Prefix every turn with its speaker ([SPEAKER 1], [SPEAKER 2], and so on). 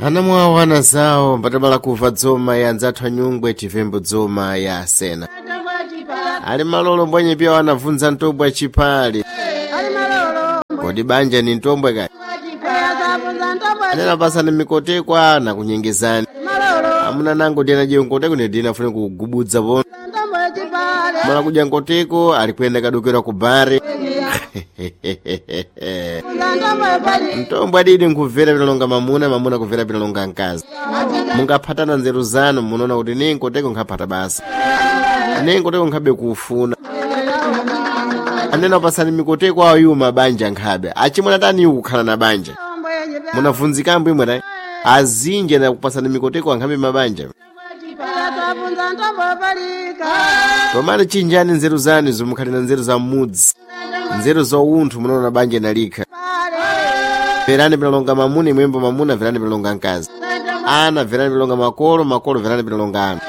[SPEAKER 1] Anamwawo ana zawo mbatabala kuva dzoma ya anzathu anyungwe chivembo dzoma ya asena. Ali malolo mbwenye pia anavunza ntombwe chipali. Kodi banja ni ntombwe kani? Anena basa ni mikotekwa na kunyengezani. Amuna nango ndiyena je nkoteko ndi ndina fune kugubudza pono. Mala kudya nkoteko alikwenda kadukira ku bare. Mtombo adidi nkubvera pinalonga mamuna, mamuna kubvera pinalonga mkazi. Mungaphatana nzeru zanu munoona kuti ne nkoteko nkhapata basa. Ne nkoteko nkhabe kufuna. Anena pasani mikoteko ayu mabanja nkhabe. Achimwena tani kukhala na banja. Munavunzikambo imwe tayi. Azinje na kupasani mikoteko ankhabe mabanja. Tomani chinjani nzeru zanu zimukhali na nzeru za mmudzi. Nzeru za unthu munaona banja nalikha. Verani pinalonga mamuna imwembo mamuna verani pinalonga mkazi. Ana verani pinalonga makolo, makolo verani pinalonga ana.